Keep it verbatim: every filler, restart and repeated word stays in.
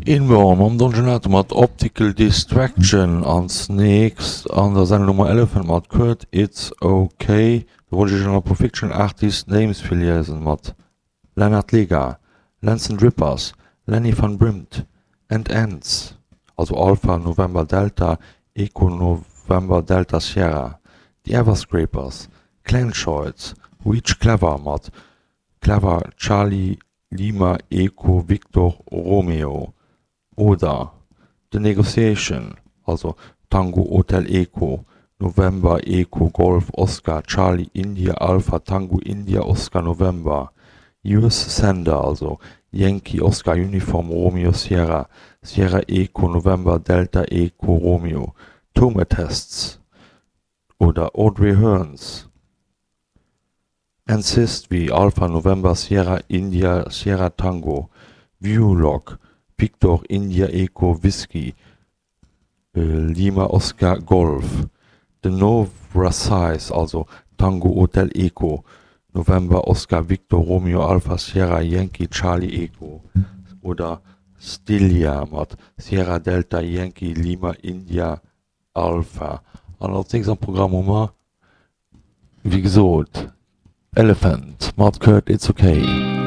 Inborn mam Don Gelato mat Optical Distraction. Als nächst an der Sendung hu mer Elephant mat Kurt It's Ok. Do wollt ech iech nach e puer Fictional Artist Names virliesen mat Lennart Lega, Lensen Drippers, Lenny van Brimpt, And Ends, also Alpha November Delta Echo November Delta Sierra, The Everscrapers, Clenchoids, Reach Clever mat Clever Charlie Lima Echo Victor Romeo oder The Negotiation, also Tango Hotel Echo November Echo Golf Oscar Charlie India Alpha Tango India Oscar November, Yours Sender, also Yankee Oscar Uniform Romeo Sierra Sierra Echo November Delta Echo Romeo, Tometests oder Audrey Hearns. Insist wéi Alpha November Sierra India Sierra Tango, Viewlog, Victor India Echo Whiskey Lima Oscar Golf, The Novrasize, also Tango Hotel Echo November Oscar Victor Romeo Alpha Sierra Yankee Charlie Echo oder Stylia mat Sierra Delta Yankee Lima India Alpha. An als nächst am Programm hu mer, wéi gesot, Elephant mat Kurt It's Ok.